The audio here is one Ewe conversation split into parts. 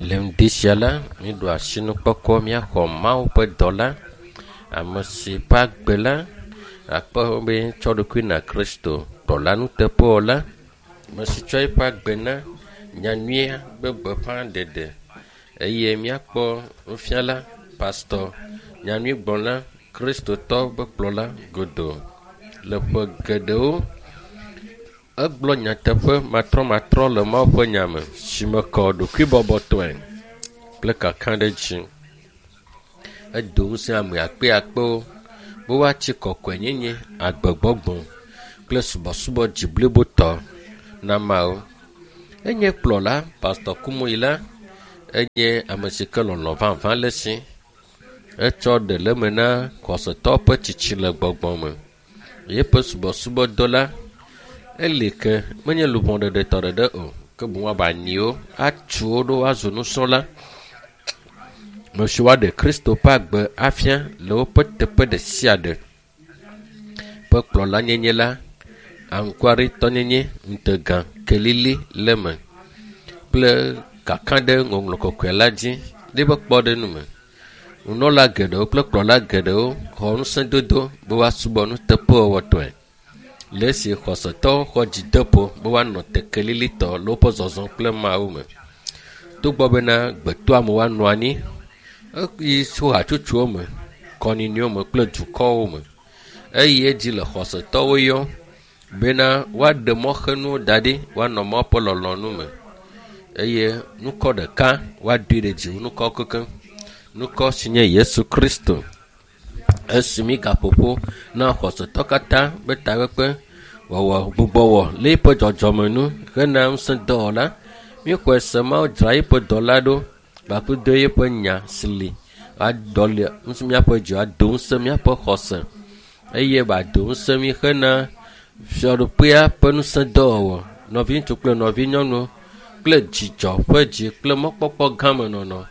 Le ŋdi sia la, míeɖo asinukpɔkpɔ míaxɔ Mawu ƒe dɔla, ame si ƒe agbe la akpɔ be tsɔ ɖokui na Kristo, kplɔla nuteƒewɔla, ame si tsɔ eƒe agbe na nyanyuia ƒe gbeƒãɖeɖe eye míakpɔ nufiala, pastɔ, nyanyuigblɔla, kristotɔ ƒe kplɔla godoo le ƒe geɖewo. Egblɔ nyateƒe matrɔmatrɔ le Mawu ƒe nya me si me kɔ ɖokuibɔbɔtɔe kple kakaɖedzi. Edo ŋusẽ ame akpeakpewo be woatsi kɔkɔenyenye, agbegbɔgbɔ kple subɔsubɔ dzi blibotɔ na Mawu. Enye kplɔla, Pastɔ Kumuyi la, enye ame si ke lɔlɔ̃ vavã le esi. Etsɔ ɖe le eme na xɔsetɔwo ƒe tsitsi le gbɔgbɔ me. Yeƒe subɔsubɔdɔ la, eli ke menye luʋɔ ɖeɖe tɔ ɖeɖe o, ke boŋ woaba anyiwo, atu wo ɖo woazu nusrɔ̃la. Me si woaɖe Kristo ƒe agbe afia le woƒe teƒe ɖe sia ɖe. Ƒe kplɔlanyenye la, anukwaretɔnyenye, ŋutega, kelili le eme kple kaka ɖe ŋɔŋlɔ kɔkɔe la dzi ɖe eƒe kpɔɖeŋu me. Nunɔla geɖewo kple kplɔla geɖewo xɔ ŋusẽdodo be woasubɔ nuteƒewɔwɔtɔe le esi xɔsetɔwo xɔ dzideƒo be woanɔ te kelilitɔ le woƒe zɔzɔ kple Mawu me. Togbɔ bena gbetoame woanɔ anyi eyi tso hatsotsowo me, kɔnyinyiwo me kple dukɔwo me eye edzi le xɔsetɔwo yɔm bena woaɖe mɔxenuwo da ɖi woanɔ Mawu ƒe lɔlɔ̃nu me eye nukɔ ɖeka woadoe ɖe dzi wu nukɔ kekeŋ. Nukɔ si nye Yesu Kristo. Esi mi gaƒoƒo na xɔsetɔ katã be takpekpe wɔwɔ gbugbɔwɔ le eƒe dzɔdzɔme nu hena ŋusẽ dɔwɔla. Míexɔe se Mawu dzra eƒe dɔla ɖo kpakple do eƒe nya si li aɖɔ li ŋusẽ míaƒe dzi ado ŋusẽ míaƒe xɔse eye wòado ŋusẽ mí hena fiaɖuƒea ƒe ŋusẽ dɔwɔwɔ. Nɔviŋutsu kple nɔvinyɔnuwo kple dzidzɔ ƒe dzi kple mɔkpɔkpɔ gã me nɔnɔ.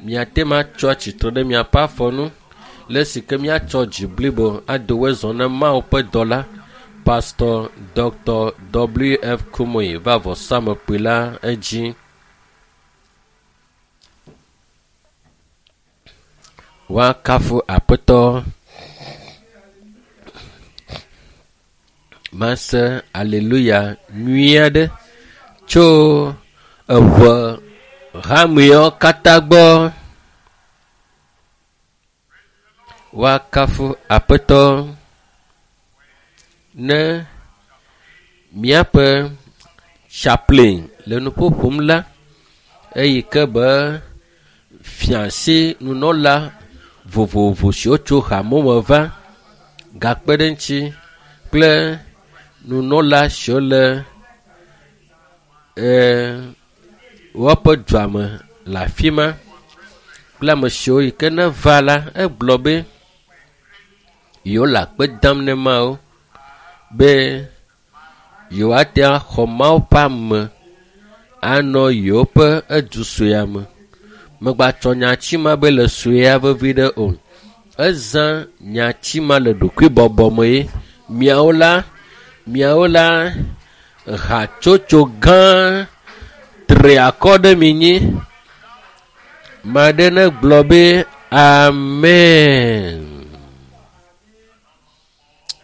Miate ŋu atsɔ atsitre ɖe miaƒe afɔ nu le esi ke míatsɔ dzi blibo ado wezɔ na Mawu ƒe dɔla Pastor Dr. W.F. Kumuyi va vɔsamlekpui la edzi. Woakafu Aƒetɔ. Mase aleluya nyui aɖe tso eʋe hameawo katã gbɔ. Woakafu Aƒetɔ ne míaƒe chaplain le nuƒo ƒom la eyi ke be fiase nunɔla vovovo siwo tso hame me va gakpe ɖe eŋuti kple nunɔla siwo le woƒe dua me le afi ma kple ame siwo yi ke ne va la egblɔ be yewo le akpe dam ne Mawu be yewoate axɔ Mawu ƒe ame anɔ yewoƒe edu suea me. Megbatsɔ nyati ma be le suea vevi ɖe o. Ezã nyati ma le ɖokuibɔbɔ me ye miawo la miawo la hatsotso gã tri akɔ ɖe mi nyi. Ame aɖe ne gblɔ be amen.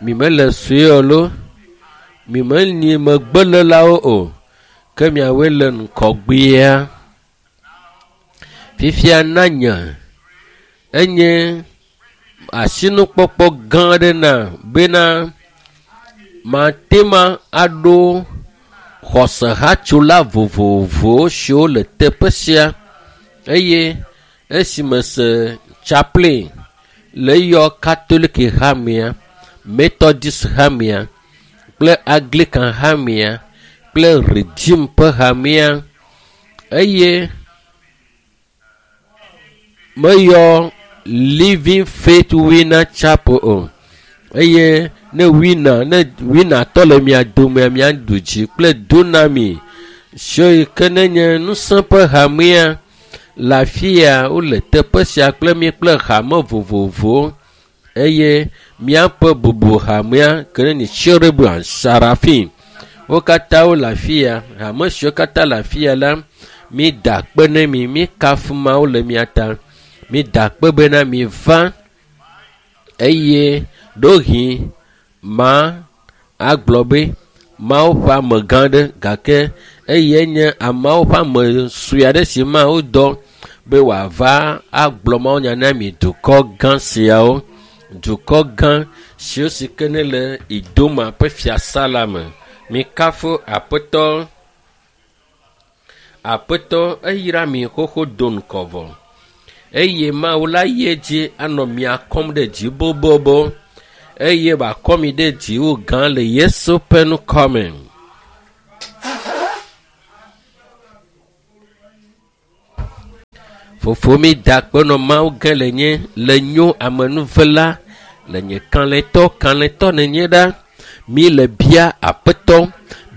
Mi mele sue o lo, mi menyi megbelelawo o, ke miawoe le ŋgɔgbea. Fifia na nye enye asinukpɔkpɔ gã aɖe na bena mate ma aɖo xɔsehatsola vovovowo siwo le teƒe sia eye esi mese chaplain le eyɔ Katoliki hamea, Methodist hamea kple Anglican hamea kple Redeem ƒe hamea eye meyɔ Living Faith Winner Chapel o eye ne winner ne winner tɔ le mia domea miaɖu dzi kple Dunami siwo yi ke nenye ŋusẽ ƒe hamea le afi ya wole teƒe sia kple mi kple hame vovovowo eye míaƒe bubu hamea ke ne nye Cherubim Serafim wo katã wole afi ya hame siwo katã le afi ya la Mi da akpe ne mi, mi kafu Mawu le mia ta. Mi da akpe bena mi va eye ɖohi ma agblɔ be Mawu ƒe amegã ɖe gake eye nye ameawo ƒe ame sue aɖe si Mawu dɔ be wòava agblɔ mawunya na mi dukɔ gã siawo. Dukɔ gã siwo si ke ne le Idoma ƒe fiasa la me. Mikafu Aƒetɔ. Aƒetɔ eyra mi xoxo do ŋkɔ vɔ eye Mawu la yi edzi anɔ mia kɔm ɖe dzi bobobo eye wòakɔ mi ɖe dzi wu gã le Yesu ƒe ŋkɔ me. Fofo mi da akpe nɔ Mawu ge le nye le nyo amenuvela le nye kalẽtɔ kalẽtɔ nenye ɖa. Mi le bia Aƒetɔ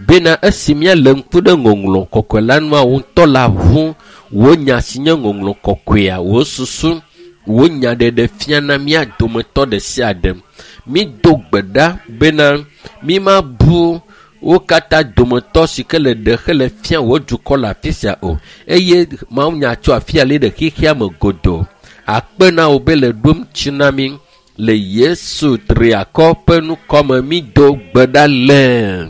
bena esi míale ŋku ɖe ŋɔŋlɔ kɔkɔe la nua wò ŋutɔ la ʋu wò nya si nye ŋɔŋlɔ kɔkɔea wò susu wò nya ɖeɖe fia na mía dometɔ ɖe sia ɖe. Mi do gbe ɖa bena mi ma bu wo katã dometɔ si ke le ɖe hele fia wò dukɔ le afi sia o eye mawunya tso afi ya li ɖe xexea me godoo. Akpe na wò be le ɖom tsi na mi le Yesu triakɔ ƒe ŋkɔme mi do gbe ɖa le.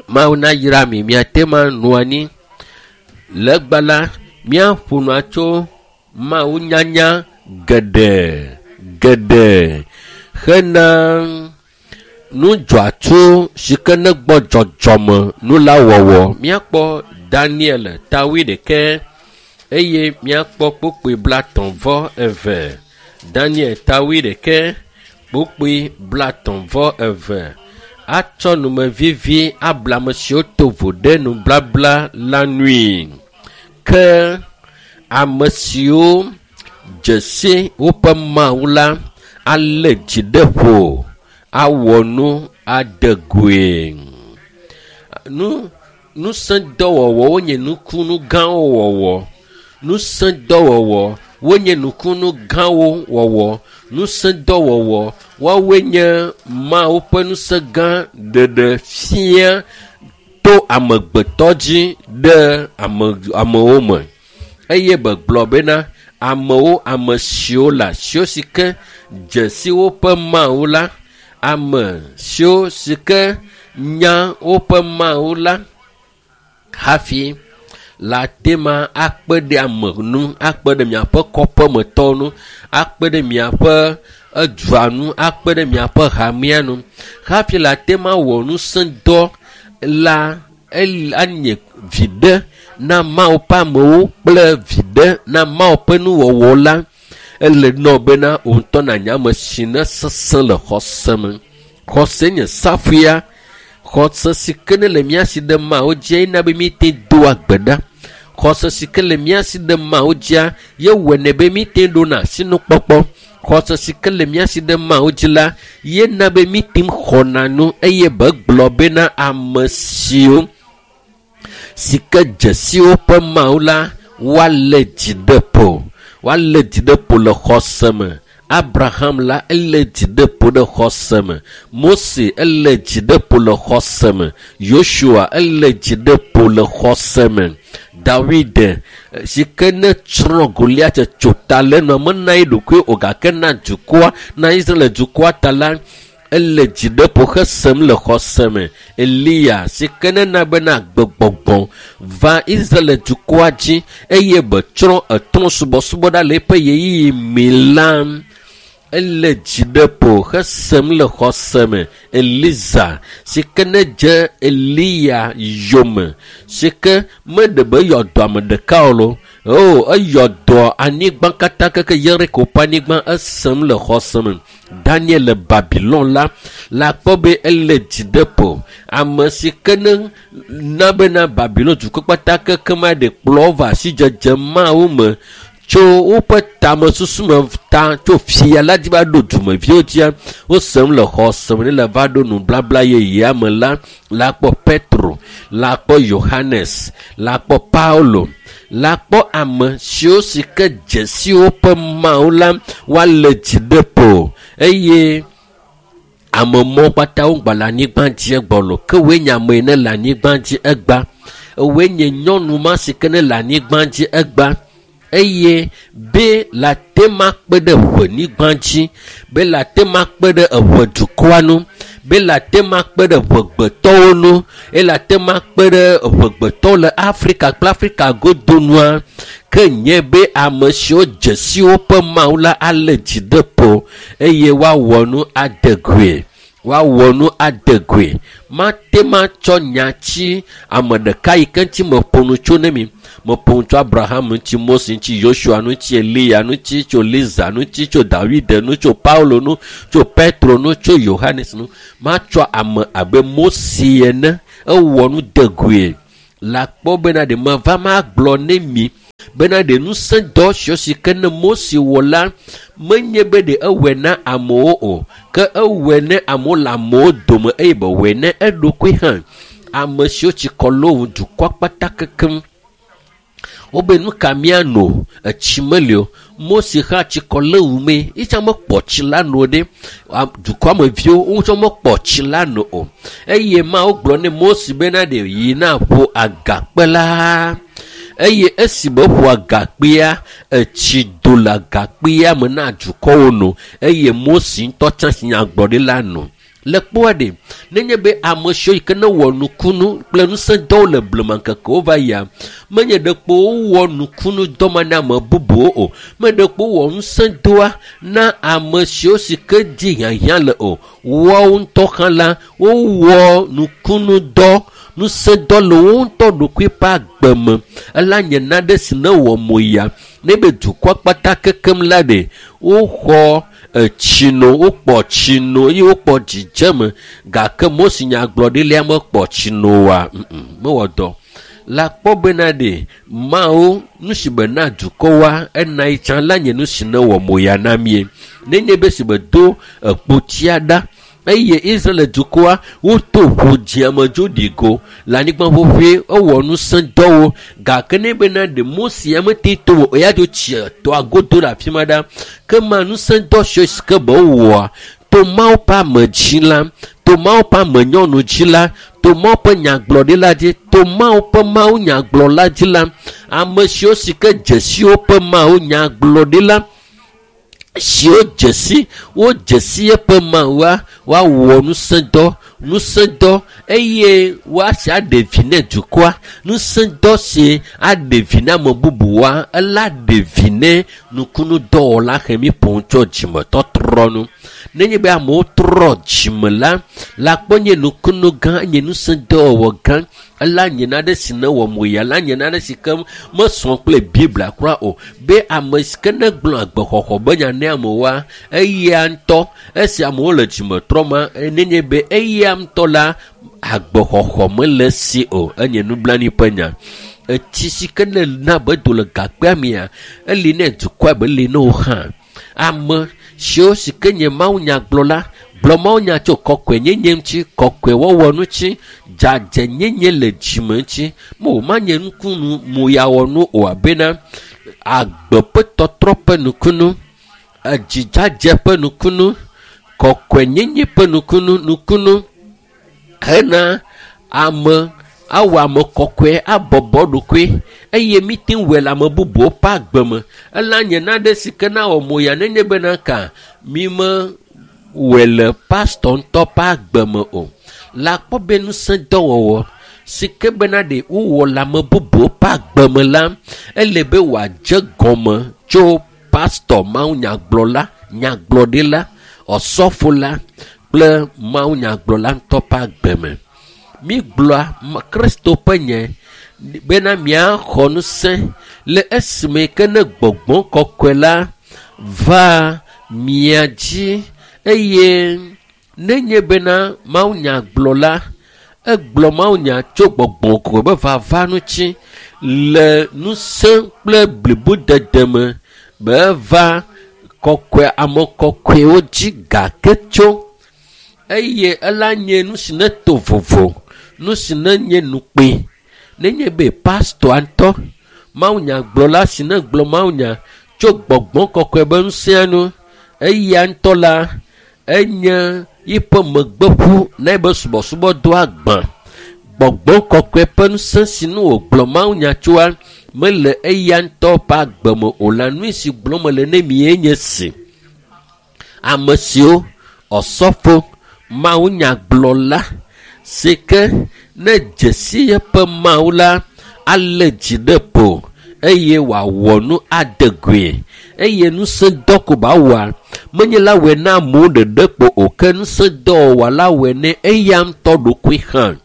Mawu nayra mi miate ma nɔ anyi. Le egbe la míaƒo nua tso Mawu nyanya geɖe geɖe hena nudzɔatso si ke ne gbɔ dzɔdzɔme nu la wɔwɔ. Míakpɔ Daniel ta wuiɖekɛ eye míakpɔ kpukpui 35. Daniel ta wuiɖekɛ kpukpui 32 atsɔ numevivi abla ame siwo to vo ɖe nublabla la nui. Ke ame siwo dze si woƒe Mawu la alé dzi ɖe ƒo awɔ nu ade goe. Nu ŋusẽdɔwɔwɔ wonye nukunu gãwo wɔwɔ. Ŋusẽdɔwɔwɔ wonye nukunu gãwo wɔwɔ. Ŋusẽdɔwɔwɔ woawoe nye Mawu ƒe ŋusẽ gã ɖeɖe fia to amegbetɔ dzi ɖe ame amewo me. Eye begblɔ bena amewo ame siwo le asiwo si ke dze si woƒe Mawu la, ame siwo si ke nya woƒe Mawu la hafi la te ma akpe ɖe ame nu, akpe ɖe miaƒe kɔƒemetɔwo nu, akpe ɖe miaƒe edua nu, akpe ɖe miaƒe hamea nu hafi la te ma wɔ ŋusẽdɔ la anye viɖe na Mawu ƒe amewo kple viɖe na Mawu ƒe nuwɔwɔ la. Ele nɔ bena wò ŋutɔ nànya ame si ne sesẽ le xɔse me. Xɔse nye safuia. Xɔse si ke ne le mía si ɖe Mawu dzia yena be míete doa gbe ɖa. Xɔse si ke le mía si ɖe Mawu dzia ye wɔnɛ be míete ɖona asinukpɔkpɔ. Xɔse si ke le mía si ɖe Mawu dzi la yena be míte xɔna nu eye begblɔ bena ame siwo si ke dze si woƒe Mawu la woalé dzi ɖe ƒo. Woalé dzi ɖe ƒo le xɔse me. Abraham la elé dzi ɖe ƒo ɖe xɔse me. Mose elé dzi ɖe ƒo le xɔse me. Yosua elé dzi ɖe ƒo le xɔse me. Dawid si ke ne tsrɔ̃ Goliat tso ta le enua mena ye ɖokui o gake na dukɔa na Israel dukɔa ta la ele dzi ɖe ƒo hesem le xɔse me. Eliya si ke ne na bena agbegbɔgbɔ va Israel dukɔa dzi eye betsrɔ̃ etrɔ̃ subɔsubɔ ɖa le eƒe ɣeyiɣi me la ele dzi ɖe ƒo hesem le xɔse me. Eliza si ke ne dze Eliya yome si ke meɖe be eyɔ dɔ ame ɖeka o lo o eyɔ dɔ anyigba katã keke Yeriko ƒe anyigba esem le xɔse me. Daniel le Babilon la la kpɔ be ele dzi ɖe ƒo. Ame si ke ne na bena Babilon dukɔ kpata keke ma ɖe kplɔ va asidzedze Mawu me tso woƒe tamesusu me ta tso fia la dzi va ɖo dumeviwo dzia wosem le xɔse me ne le va ɖo nublabla yeyea me la la kpɔ Petro, la kpɔ Yohanes, la kpɔ Paulo, la kpɔ ame siwo si ke dze si woƒe Mawu la woalé dzi ɖe ƒo eye ame mɔ kpata wo gba le anyigba dzi egbɔ lo ke woe nye ame yi ne le anyigba dzi egba. Ewoe nye nyɔnu ma si ke ne le anyigba dzi egba eye be la te ma kpe ɖe ʋenyigba dzi, be la te ma kpe ɖe eʋe dukɔa nu, be la te ma kpe ɖe ʋegbetɔwo nu, eye la te ma kpe ɖe ʋegbetɔwo le Afrika kple Afrika godo nua. Ke nye be ame siwo dze si woƒe Mawu la alé dzi ɖe ƒo eye woawɔ nu ade goe. Woawɔ nu ade goe. Mate ma tsɔ nya tsi ame ɖeka yi ke ŋuti meƒo nu tso ne mi. Meƒo nu tso Abraham ŋuti, Mose ŋuti, Yosua ŋuti, Eliya ŋuti, tso Liza ŋuti, tso Dawide nu, tso Paulo nu, tso Petro nu, tso Yohanes nu. Matsɔ ame abe Mose ene ewɔ nu de goe. La kpɔ bena ɖe meva magblɔ ne mi bena ɖe ŋusẽ dɔ siwo si ke ne Mose wɔ la menye be ɖe ewɔe na amewo o, ke ewɔe ne amewo le amewo dome eye be wɔe ne eɖokui hã. Ame siwo tsi kɔ lo dukɔa kpata kekem. Wobe nu ka míano? Etsi meli o. Mose hã tsi kɔ le wu me. Yitsã mekpɔ tsi la no ɖe. Dukɔa me viwo wotsã mekpɔ tsi la no o. Eye Mawu gblɔ ne Mose bena ɖe yi na ƒo agakpe la. Eye esi be ƒo agakpea, etsi do le agakpea me na dukɔwo no. Eye Mose ŋutɔ tsã si nyagblɔɖi la no. Le kpɔa ɖe, nenye be ame siwo yi ke ne wɔ nukunu kple ŋusẽdɔwo le blema ŋkekewo va yia, menye ɖekpo wowɔ nukunu dɔ ma na ame bubuwo o. Menye ɖekpo wowɔ ŋusẽdɔa na ame siwo si ke dzi hiahiã le o. Woawo ŋutɔ hã la, wowɔ nukunu dɔ, ŋusẽdɔ le wo ŋutɔ ɖokui ƒe agbe me. Ela nye nane si ne wɔ mo ya. Ne be dukɔa kpata kekem la ɖe, woxɔ etsi no, wokpɔ tsi no eye wokpɔ dzidzeme gake Mose nyagblɔɖilia mekpɔ tsi no oa, mewɔ dɔ. La kpɔ bena ɖe Mawu nu si be na dukɔwoa ena yi tsã la nye nu si ne wɔ mo ya na mie. Nenye be si be do ekpotia ɖa eye Israel dukɔa woto ʋu dzia me dzo ɖi go le anyigba ƒuƒui ewɔ ŋusẽdɔwo gake ne bena ɖe Mose ya mete to o eya dzo tsi tɔa godo le afi ma ɖa ke ma ŋusẽdɔ siwo si ke be wowɔa to Mawu ƒe ame dzi la, to Mawu ƒe ame nyɔnu dzi la, to Mawu ƒe nyagblɔɖila dzi, to Mawu ƒe Mawu nyagblɔla dzi la, ame siwo si ke dze si woƒe Mawu nyagblɔɖila siwo dze si wodze si eƒe Mawua woawɔ ŋusẽdɔ ŋusẽdɔ eye woasi aɖe vi ne dukɔa. Ŋusẽdɔ si aɖe vi na ame bubuwoa ela ɖe vi ne nukunudɔwɔla xemi ƒo tso dzimetɔtrɔ nu. Nenye be amewo trɔ dzime la, la kpɔ nye nukunu gã, nye ŋusẽdɔwɔwɔ gã. Ela nye nane si ne wɔ mo ya, la nye nane si ke mesɔ kple Biblia kura o. Be ame si ke ne gblɔ agbexɔxɔ be nya ne amewoa, eya ŋutɔ esi amewo le dzime trɔm ma, nenye be eya ŋutɔ la agbexɔxɔ mele si o. Enye nublanui ƒe nya. Etsi si ke ne na be do le gakpea mea, eli ne dukɔa be li ne wo hã. Ame siwo si ke nye Mawu nyagblɔla gblɔ Mawu nya tso kɔkɔenyenye ŋuti, kɔkɔewɔwɔ ŋuti, dzadzenyenye le dzime ŋuti. Mo manye nukunu moyawɔnu o abena agbe ƒe tɔtrɔ ƒe nukunu, edzidzadze ƒe nukunu, kɔkɔenyenye ƒe nukunu, nukunu hena ame awɔ ame kɔkɔe abɔbɔ ɖokui eye mite ŋu wɔe le ame bubuwo ƒe agbe me. Ela nye nane si ke na wɔ mo ya nenye bena ka mi me wɔe le pastɔ ŋutɔ ƒe agbe me o. La kpɔ be ŋusẽdɔwɔwɔ si ke bena ɖe wowɔ le ame bubuwo ƒe agbe me la, ele be wòadze gɔme tso pastɔ mawunyagblɔla, nyagblɔɖila, ɔsɔfola kple mawunyagblɔla ŋutɔ ƒe agbe me. Mi gblɔa Kristo ƒe nye bena miaxɔ ŋusẽ le esime ke ne gbɔgbɔ kɔkɔe la va mia dzi eye nenye bena mawunyagblɔla egblɔ mawunya tso gbɔgbɔ kɔkɔe be vava ŋuti le ŋusẽ kple blibodede me be va kɔkɔe ame kɔkɔewo dzi gake tso eye ela nye nu si ne to vovo, nu si ne nye nukpe. Nenye be pastɔa ŋutɔ mawunyagblɔla si ne gblɔ mawunya tso gbɔgbɔ kɔkɔe be ŋusẽa nu, eya ŋutɔ la enye yiƒe megbeƒu na ebe subɔsubɔdɔa gbã. Gbɔgbɔ kɔkɔe ƒe ŋusẽ si nu wògblɔ mawunya tsoa mele eya ŋutɔ ƒe agbe me o la, nu si gblɔm mele ne mie nye si. Ame siwo ɔsɔfo mawunyagblɔla si ke ne dze si eƒe Mawu la alé dzi ɖe ƒo eye wòawɔ nu ade goe eye ŋusẽdɔ ko ba wɔa menye la wɔe na amewo ɖeɖe kpo o ke ŋusẽdɔwɔwɔ la wɔe ne eya ŋutɔ ɖokui hã.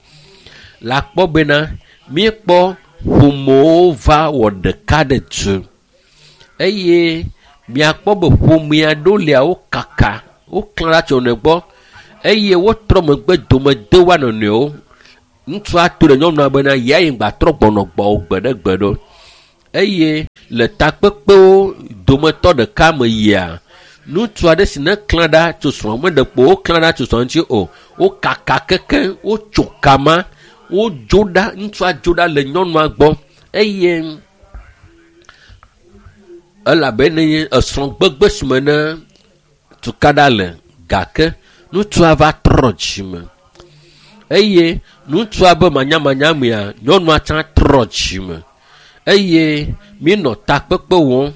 Le akpɔ bena míekpɔ ƒomewo va wɔ ɖeka ɖe du eye miakpɔ be ƒomea ɖewo lia wo kaka woklã ɖa tso nɔe gbɔ eye wotrɔ megbe dome de woa nɔnɔewo. Ŋutsua to ɖe nyɔnua bena ya yi ŋgba trɔ gbɔnɔ gbɔwò gbe ɖe gbe ɖo. Eye le takpekpewo dometɔ ɖeka me yia, ŋutsu aɖe si ne klã ɖa tso srɔ̃a me ɖekpo woklã ɖa tso srɔ̃a ŋuti o, wokaka kekeŋ, wotso kama, wodzo ɖa, ŋutsua dzo ɖa le nyɔnua gbɔ eye elabena esrɔ̃gbegbe si me ne tukaɖa le gake ŋutsua va trɔ dzime eye ŋutsua be manyamanya mea, nyɔnua tsã trɔ dzime eye míenɔ takpekpe wɔm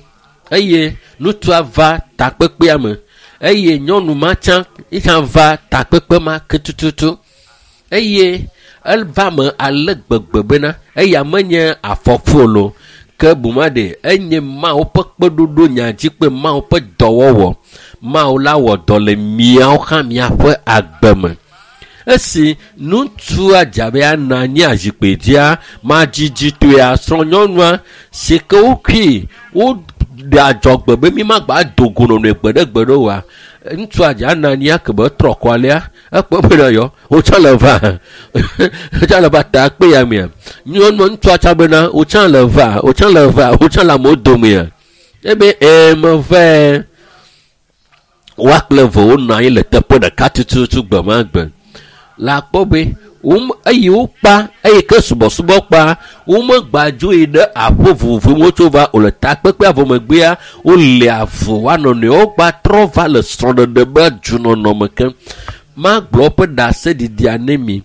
eye ŋutsua va takpekpea me eye nyɔnu ma tsã hã va takpekpe ma ke tututu eye eva me ale gbegbe bena eya menye afɔku o ke buma ɖe enye Mawu ƒe kpeɖoɖo nya dzi kple Mawu ƒe dɔwɔwɔ. Mawu la wɔ dɔ le miawo hã miaƒe agbe me. Esi ŋutsua dze abe anɔ anyi azikpui dzia, madzidzitɔea srɔ̃nyɔnua si ke wokui woɖe adzɔgbe be mi magba do go nɔnɔe gbe ɖe gbe ɖe oa, ŋutsua dze anɔ anyi ake be etrɔ kɔ alea, ekpɔ be ɖe yɔ, wotsã le va, wotsã le va ta kpe ya mea. Nyɔnua ŋutsua tsã bena wotsã le va, wotsã le va, wotsã le amewo domea. Ebe ee meve. Woa kple eve wonɔ anyi le teƒe ɖeka tututu gbe ma gbe. Le akpɔ be eye wokpa eye ke subɔsubɔ kpa womegba dzo yi ɖe aƒe vovovowo wotso va o le takpekpea vɔ megbea wole avu woa nɔnɔewo gba trɔ va le srɔ̃ɖeɖe be dzunɔnɔ me ke. Magblɔ woƒe ɖaseɖiɖia ne mi.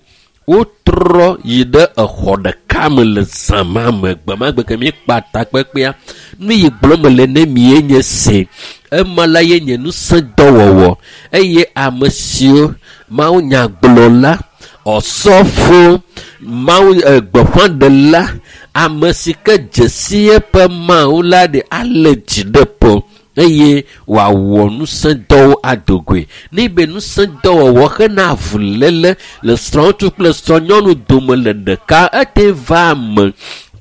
Wotrɔ yi ɖe exɔ ɖeka me le zã ma me gbe ma gbe ke míekpa takpekpea. Nu yi gblɔm mele ne mi ye nye se. Ema la ye nye ŋusẽdɔwɔwɔ eye ame siwo mawunyagblɔla, ɔsɔfo, mawu gbeƒãɖela, ame si ke dze si eƒe Mawu la ɖe alé dzi ɖe ƒo eye wòawɔ ŋusẽdɔwo ado goe. Ne be ŋusẽdɔwɔwɔ hena avuléle le srɔ̃ŋutsu kple srɔ̃nyɔnu dome le ɖeka ete va eme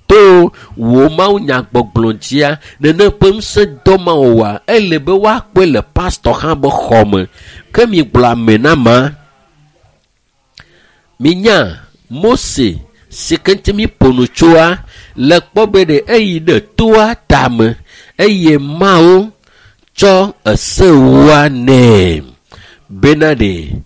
to wò mawunyagbɔgblɔ dzia, nene ƒe ŋusẽdɔ ma wɔwɔa, ele be woakpɔe le pastɔ hã be xɔme. Ke mi gblɔ ame na ma. Minya Mose si ke ŋuti mi ƒo nu tsoa le kpɔ be ɖe eyi ɖe toa tame eye Mawu tsɔ esewoa nɛ bena ɖe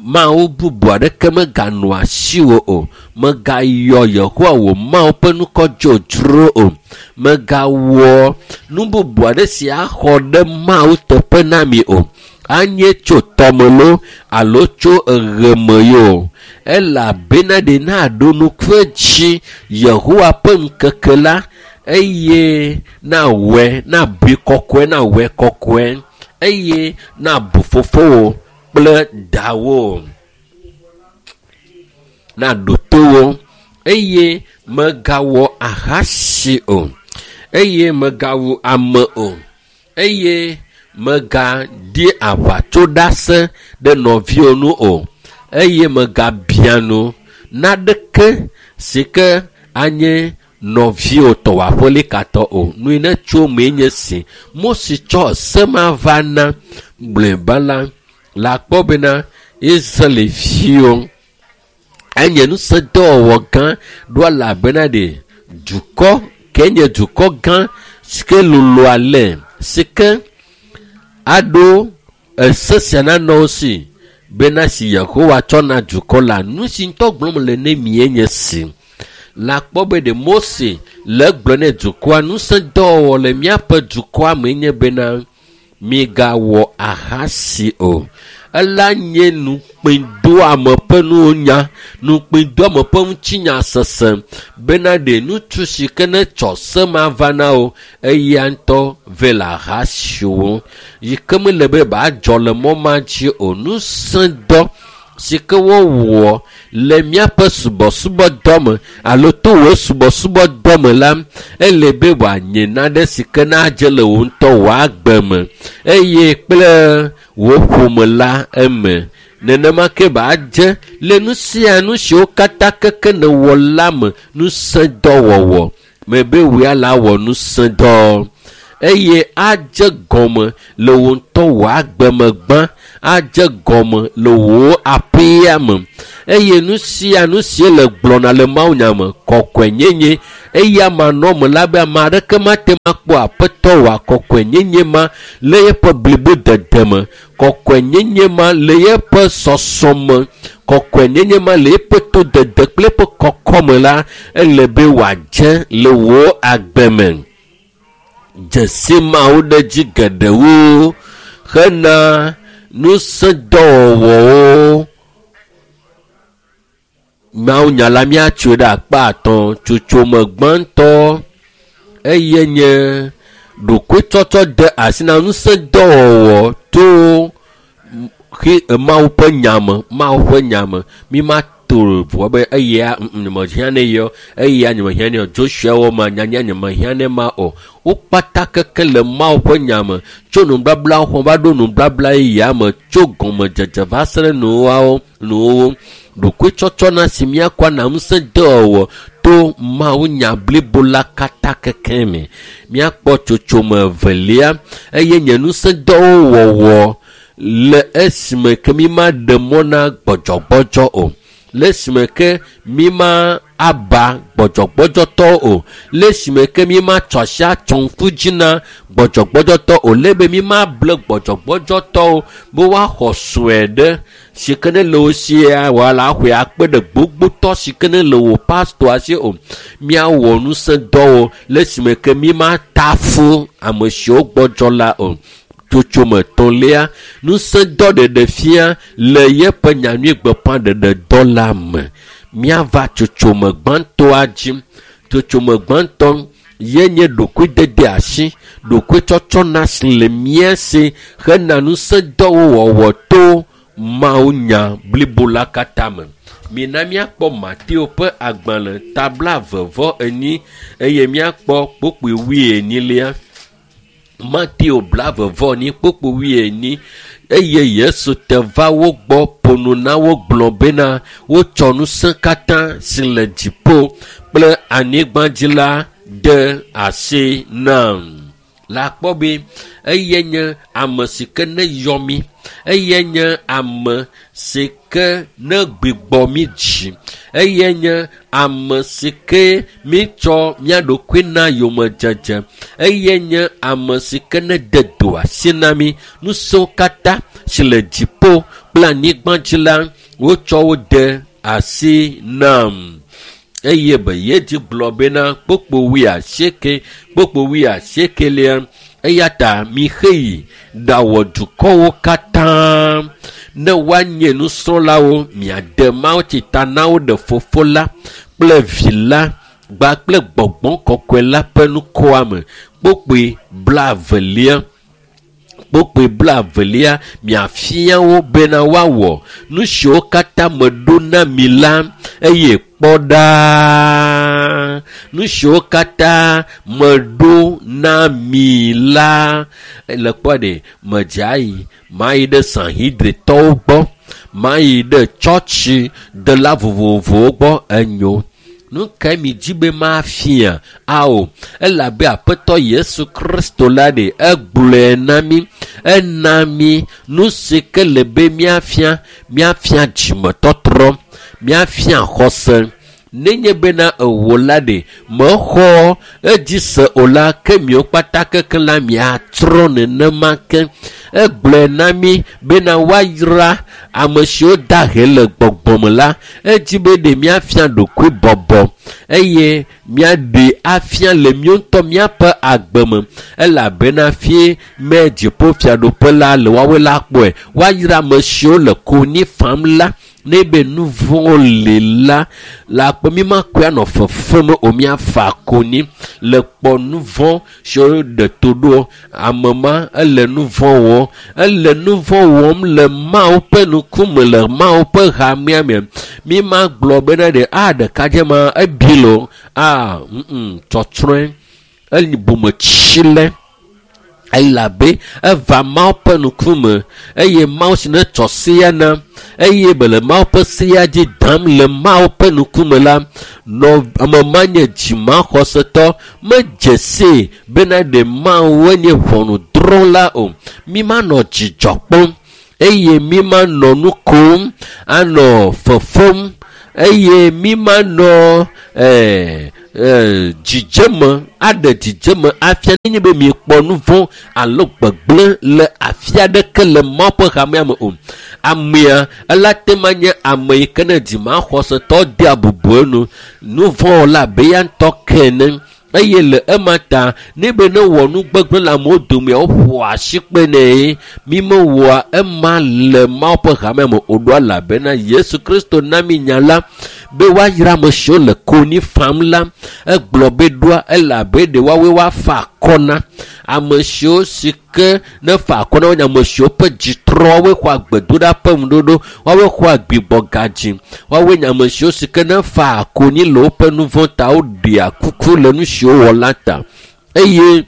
Mawu bubu aɖeke meganɔ asiwò o, megayɔ Yehowa wò Mawu ƒe ŋkɔ dzodzro o, megawɔ nu bubu aɖe si axɔ ɖe Mawu teƒe na mi o, anye tso tɔme loo alo tso eɣeme yo, elabena ɖe naɖo ŋku edzi Yehowa ƒe ŋkeke la eye nawɔe, nabui kɔkɔe, nawɔe kɔkɔe eye nabu fofowò kple dawò, naɖo to wo eye megawɔ ahasi o, eye megawu ame o, eye megaɖi aʋatsoɖase ɖe nɔviwò nu o, eye megabia nu naɖeke si ke anye nɔviwò tɔ wò aƒelikatɔ o. Nu yi ne tso mee nye si Mose tsɔ se ma va na mlɔeba la, le akpɔ bena Israelviwo enye ŋusẽdɔwɔwɔ gã ɖo elabena ɖe dukɔ ke nye dukɔ gã si ke lolo ale si ke aɖo ese sia nanɔ wo si bena si Yehowa tsɔ na dukɔ la, nu si ŋutɔ gblɔm le ne mi ye nye si. Le akpɔ be ɖe Mose le egblɔ ne dukɔa, ŋusẽdɔwɔwɔ le míaƒe dukɔa me nye bena migawɔ ahasi o. Ela nye nukpẽdoame ƒe nunya, nukpẽdoame ƒe ŋutinya sese bena ɖe ŋutsu si ke ne tsɔ se ma va na wo eya ŋutɔ vɛ le ahasiwo yi ke mele be badzɔ le mɔ ma dzi o. Ŋusẽdɔ si ke wowɔ le míaƒe subɔsubɔdɔ me alo to wò subɔsubɔdɔ me la, ele be wòanye nane si ke nadze le wò ŋutɔ wò agbe me eye kple wò ƒome la eme. Nenema ke badze le nu sia nu siwo katã keke nèwɔ la me ŋusẽdɔwɔwɔ me be wòya la wɔ ŋusẽdɔ eye adze gɔme le wò ŋutɔ wò agbe me gbã, adze gɔme le wò aƒea me eye nu sia nu si le gblɔna le mawunya me kɔkɔenyenye eya manɔ me la be ame aɖeke mate ŋu akpɔ aƒetɔ wòa kɔkɔenyenye ma le eƒe blibodede me, kɔkɔenyenye ma le eƒe sɔsɔme, kɔkɔenyenye ma le eƒe todede kple eƒe kɔkɔme la, ele be wòadze le wò agbe me. Dzesi mawo ɖe dzi geɖewo hena ŋusẽdɔwɔwɔwo. Mawunya la míatsoe ɖe akpa atɔ̃. Tsotsome gbãtɔ eye nye ɖokuitsɔtsɔ de asi na ŋusẽdɔwɔwɔ to Mawu ƒe nya me. Mawu ƒe nya me. Mi ma to vɔ be eya nyemehiã ne yɔ, eya nyemehiã ne yɔ. Joshua wɔ ma nyanya nyemehiã ne ma o. Wo kpata keke le Mawu ƒe nya me tso nubabla xɔ va ɖo nubabla yeyea me tso gɔmedzedze va se ɖe nuwɔwɔwo nuwɔwɔ. Ɖokuitsɔtsɔ na si míakɔ ana ŋusẽdɔwɔwɔ to Mawu nya blibo la katã keke me. Míakpɔ tsotsome evelia eye nye ŋusẽdɔwo wɔwɔ le esime ke mi ma ɖe mɔ na gbɔdzɔgbɔdzɔ o. Le esime ke mi ma aba gbɔdzɔgbɔdzɔtɔwo o. Le esime ke mi ma tsɔ asi atsɔ ŋku dzi na gbɔdzɔgbɔdzɔtɔ o. Le be mi ma ble gbɔdzɔgbɔdzɔtɔwo be woaxɔ sue ɖe si ke ne le wo sia wòala axɔe akpe ɖe gbogbotɔ si ke ne le wò pastɔa si o. Míawɔ ŋusẽdɔwo le esime ke mi ma ta fu ame siwo gbɔdzɔ la o. Tsotsome etɔ̃lia, ŋusẽdɔ ɖeɖe fia le yeƒe nyanyui gbeƒãɖeɖedɔ la me. Míava tsotsome gbãtɔa dzi. Tsotsome gbãtɔ ye nye ɖokuidede asi, ɖokuitsɔtsɔ na si le mía si hena ŋusẽdɔwo wɔwɔ to Mawu nya blibo la katã me. Mina míakpɔ Mateo ƒe agbalẽ ta 24 eye míakpɔ kpukpui 24. Mateo 24 kpukpui 24 eye Yesu te va wo gbɔ ƒo nu na wo gblɔ bena wotsɔ ŋusẽ katã si le dziƒo kple anyigba dzi la de asi nam. La kpɔ be eye nye ame si ke ne yɔ mí, eye nye ame si ke ne gbigbɔ mí dzi, eye nye ame si ke mítsɔ mía ɖokui na yomedzedze, eye nye ame si ke ne de do asi na mí. Ŋusẽwo katã si le dziƒo kple anyigba dzi la, wotsɔ wo de asi nam. Eye be yedzi gblɔ bena kpukpui 88 kpukpui 80 eya ta mixeyi ɖawɔ dukɔwo katã ne woanye nusrɔ̃lawo, miade mawutsi ta na wo ɖe Fofo la kple Vi la gba kple Gbɔgbɔ Kɔkɔe la ƒe ŋkɔa me. Kpukpui 20. Kpukpui 20 miafia wo bena woawɔ nu siwo katã meɖo na mi la eye kpɔ ɖa nu siwo katã meɖo na mi la. Le kpɔ ɖe medze ayi mayi ɖe Sanhedritɔwo gbɔ, mayi ɖe tsɔtsi dela vovovowo gbɔ enyo. Nu kae mi dzi be mafia? Ao, elabe Aƒetɔ Yesu Kristo la ɖe egblɔe na mí, ena mí nu si ke le be míafia, míafia dzimetɔtrɔ, míafia xɔse, Nenye bena ewò la ɖe mexɔ edzi se o la, ke miwo kpata kekeŋ la miatrɔ nenema ke. Egblɔe na mi bena woayra ame siwo da he le gbɔgbɔme la. Edzi be ɖe miafia ɖokui bɔbɔ eye miaɖe afia le míawo ŋutɔ míaƒe agbe me, elabena fie me dziƒofiaɖuƒe la le woawoe la kpɔe. Woayra ame siwo le konyi fam la. Ne be nu vɔ̃wo li la, le akpɔ mi makɔe anɔ fefem o, miafa konyi le kpɔ nu vɔ̃ siwo ɖe to ɖo. Ame ma ele nu vɔ̃ wɔm, ele nu vɔ̃ wɔm le Mawu ƒe ŋkume, le Mawu ƒe hamea me. Mi ma gblɔ bena ɖe a ɖekadze ma ebi lo a tsɔtsrɔ̃e eli bometsi le, elabe eva Mawu ƒe ŋkume eye Mawu si ne tsɔ sea na eye be le Mawu ƒe sea dzi dam le Mawu ƒe ŋkume la, nɔ ame ma nye dzimaxɔsetɔ, medze see bena ɖe Mawu nye ʋɔnudrɔ̃la o. Mi manɔ dzidzɔ kpɔm eye mi manɔ nu kom anɔ fefem eye mi manɔ dzidzeme aɖe dzidzeme afia nenye be miekpɔ nu vɔ̃ alo gbegblẽ le afi aɖeke le Mawu ƒe hamea me o. Amea ela te ma nye ame yi ke ne dzimaxɔsetɔ dea bubu enu, nu vɔ̃ wɔla abe ya ŋutɔ ke ene. Eye le ema ta ne be ne wɔ nu gbegblẽ le amewo domea, woƒoa asi kpe nɛ. Mi mewɔa ema le Mawu ƒe hamea me o ɖo, elabena Yesu Kristo na mi nya la be woayra ame siwo le konyi fam la. Egblɔ be ɖoa elabe ɖe woawoe woafa akɔ na ame siwo si ke ne fa akɔ na wo nye ame siwo ƒe dzi trɔ, woawoe xɔa gbedoɖa ƒe ŋuɖoɖo, woawoe xɔa gbigbɔgadzi, woawoe nye ame siwo si ke ne fa konyi le woƒe nu vɔ̃ ta, woɖea kuku le nu siwo wɔ la ta. Eye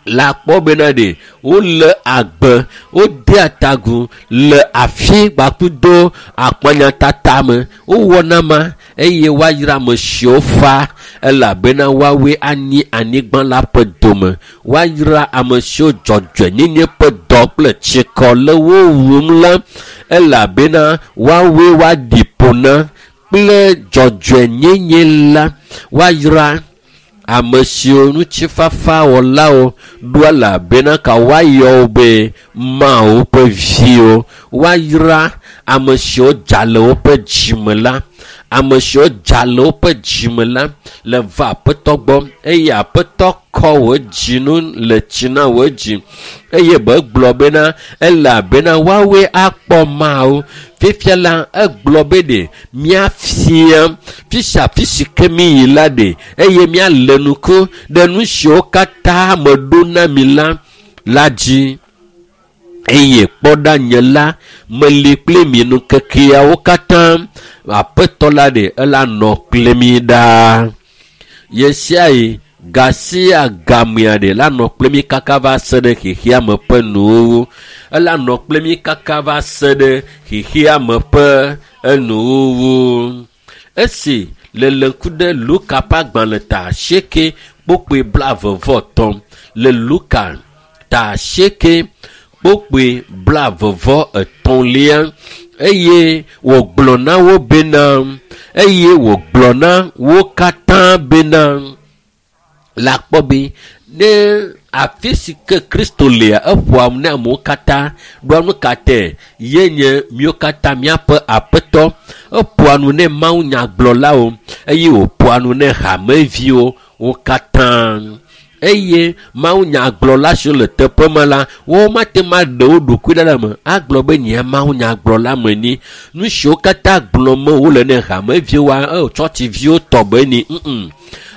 le akpɔ bena ɖe wole agbe, wodea tagu le afi gbakudo akpanyatata me, wowɔna ma eye woayra ame siwo fa, elabena woawoe anyi anyigba la ƒe dome. Woayra ame siwo dzɔdzɔenyenye ƒe dɔ kple tsikɔ le wo wum la, elabena woawoe woaɖi ƒo na kple dzɔdzɔenyenye la. Woayra ame siwo ŋutifafawɔlawo ɖo, elabena ka woayɔ wo be Mawu ƒe viwo. Woayra ame siwo dza le woƒe dzime la, ame siwo dza le woƒe dzime la le va Aƒetɔ gbɔ eye Aƒetɔ kɔ wò dzinu le tsi na wò dzi eye be gblɔ bena elabena woawoe akpɔ Mawu. Fifia la egblɔ be ɖe miafia fi sia fi si ke mi yi la ɖe eye mialé ŋku ɖe nu siwo katã meɖo na mi la dzi. Eye kpɔ ɖa nye la meli kpli mi ŋkekeawo katã. Aƒetɔ la ɖe ela nɔ kpli mi ɖaa. Ɣe sia ɣi ga sia gamea ɖe la nɔ kpli mi kaka va se ɖe xexea me ƒe nuwuwu. Ela nɔ kpli mi kaka va se ɖe xexea me ƒe enuwuwu. Esi le le ŋku ɖe Luka ƒe agbalẽ ta 8 kpokpoe 23, le Luka ta 8 kpokpoe 23 eye wògblɔ na wo bena, eye wògblɔ na wo katã bena, le akpɔ be ne afi si ke Kristo lea, eƒoa nu na amewo katã. Ɖoa nu ka tɛ? Ye nye míwo katã míaƒe Aƒetɔ. Eƒoa nu ne mawunyagblɔlawo eye wòƒoa nu ne hameviwo wo katã. Eye mawunyagblɔla siwo le teƒe ma la, womate ŋu aɖe wo ɖokui ɖa le eme agblɔ be nye mawunyagblɔla me ni. Nu siwo katã gblɔm wole ne hameviwoa, tsɔtsiviwo tɔ be ni.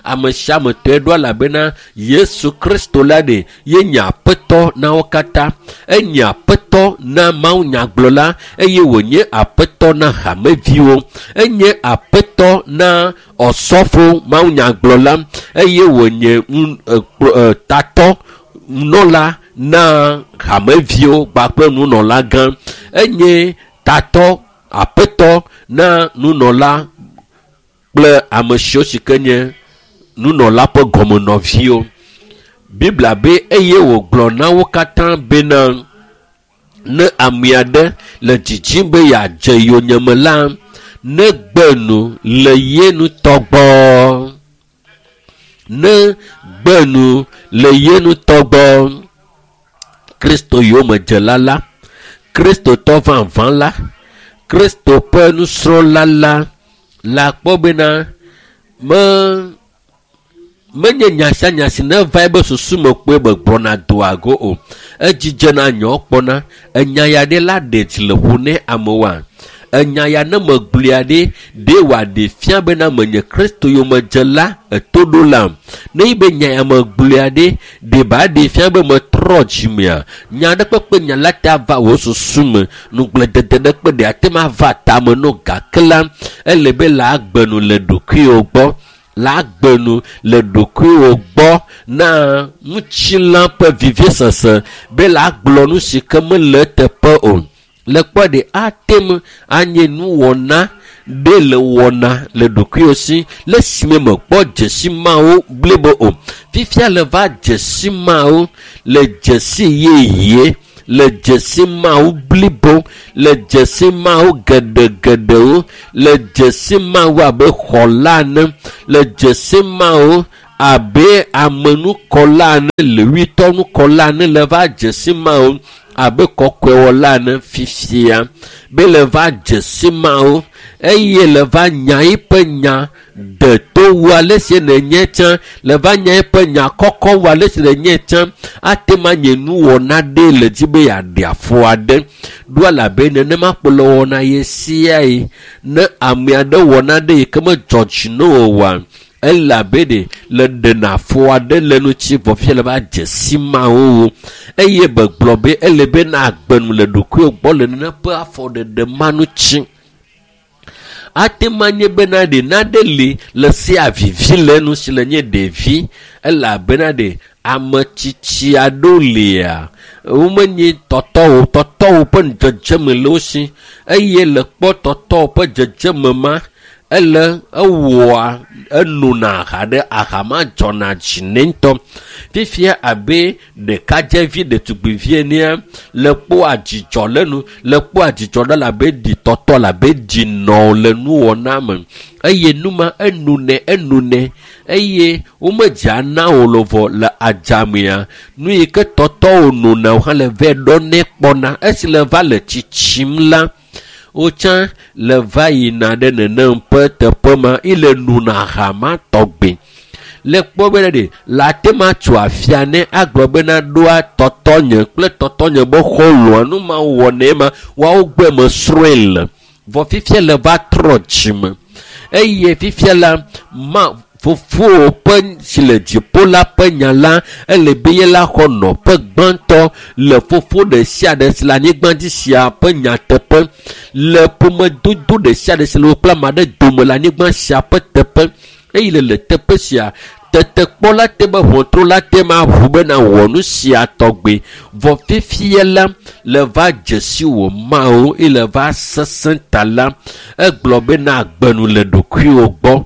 Ame sia ame tɔe ɖo, elabena Yesu Kristo la ɖe ye nye Aƒetɔ na wo katã. Enye Aƒetɔ na mawunyagblɔla eye wònye Aƒetɔ na hameviwo. Enye Aƒetɔ na ɔsɔfo mawunyagblɔla eye wònye tatɔ nunɔla na hameviwo kpakple nunɔla gã. Enye tatɔ Aƒetɔ na nunɔla kple ame siwo si ke nye nunɔla ƒe gɔmenɔviwo. Biblia be eye wògblɔ na wo katã bena ne ame aɖe le dzidzim be yeadze yonyeme la, Ne gbe nu le ye ŋutɔ gbɔ. Ne gbe nu le ye ŋutɔ gbɔ. Kristo yomedzela la, Kristotɔ vavã la, Kristo ƒe nusrɔ̃la la, le akpɔ bena me menye nya sia nya si neva ebe susu me kpoe be gblɔna doa go o. Edzidzena nyawo kpɔna. Enya ya ɖe la ɖe dzi le ƒo ne amewoa. Enya ya ne megblɔe ɖe, ɖe wòaɖe fia bena menye Kristo yomedzela etoɖola. Ne yi be nya ya megblɔe ɖe, ɖe ba ɖe fia be metrɔ dzimea. Nya ɖe kpekpe nya la te ava wò susu me. Nugblẽdede ɖe kpe ɖe ate ma va tame no gake la, ele be la agbe nu le ɖokuiwò gbɔ. La agbe nu le ɖokuiwò gbɔ na ŋutilã ƒe vivisese be la gblɔ nu si ke mele eteƒe o. Le kpɔ ɖe ate ŋu anye nuwɔna ɖe le wɔna le ɖokuiwò si le esime mekpɔ dzesi mawo blibo o. Fifia le va dzesi mawo le dzesi yeye le dzesi mawo blibo le dzesi mawo geɖegeɖewo le dzesi mawo abe xɔla ene le dzesi mawo abe amenukɔla ene lewitɔnukɔla ene le va dzesi mawo abe kɔkɔewɔla ene fifia be le va dzesi mawo eye le va nya eƒe nya de to wu ale si nenye tsã le va nya eƒe nya kɔkɔ wu ale si nenye tsã ate ma nye nuwɔna ɖe le dzi be yeaɖe afɔ aɖe ɖo elabe nenema kpo le wɔna ye siae ne ame aɖe wɔna ɖe yi ke medzɔ dzi na o oa elabe ɖe le ɖena afɔ aɖe le ŋuti vɔ fifia le va dze si mawo wo eye begblɔ be ele be na agbe nu le ɖokuiwò gbɔ le nene ƒe afɔɖeɖe ma ŋuti. Ate ma nye bena ɖe naɖe li le sia vivi le nu si le nye ɖevi elabena ɖe ame tsitsi aɖewo lia womenye tɔtɔwo tɔtɔwo ƒe dzedzeme le wo si eye le kpɔ tɔtɔwo ƒe dzedzeme ma ele ewɔa enona aha ɖe aha ma dzɔna dzi nɛ ŋutɔ. Fifia abe ɖekadzevi ɖetugbivi enea le kpɔa dzidzɔ le nu le kpɔa dzidzɔ ɖe labe ɖi tɔtɔ labe ɖi nɔ le nuwɔna me eye numa enunɛ enunɛ eye womedzea na wo le vɔ le adzamea nu yi ke tɔtɔwo nona wo hã le vɛ ɖɔnɛ kpɔna esi le va le tsitsim la wotsã le va yina ɖe nenem ƒe teƒe ma ile nona aha ma tɔgbe. Le kpɔ bena ɖe le ate ma tso afia ne agblɔ bena ɖoa tɔtɔnye kple tɔtɔnye be xɔlɔ̃a nu ma wɔnɛ ma woawo gbɔe mesrɔ̃e le. Vɔ fifia le va trɔ dzime eye fifia la ma fofowò ƒe si le dziƒo la ƒe nya la ele be ye la xɔ nɔƒe gbãtɔ le fofo ɖe sia ɖe si le anyigba dzi sia ƒe nyateƒe le ƒomedodo ɖe sia ɖe si le wo kple ame aɖe dome le anyigba sia ƒe teƒe eye le le teƒe sia tetekpɔ la te be ʋɔtru la te ma ʋu bena wɔ nu sia tɔgbe vɔ fifia la le va dzesi wò Mawu eye le va sesẽ ta la egblɔ bena agbe nu le ɖokuiwò gbɔ.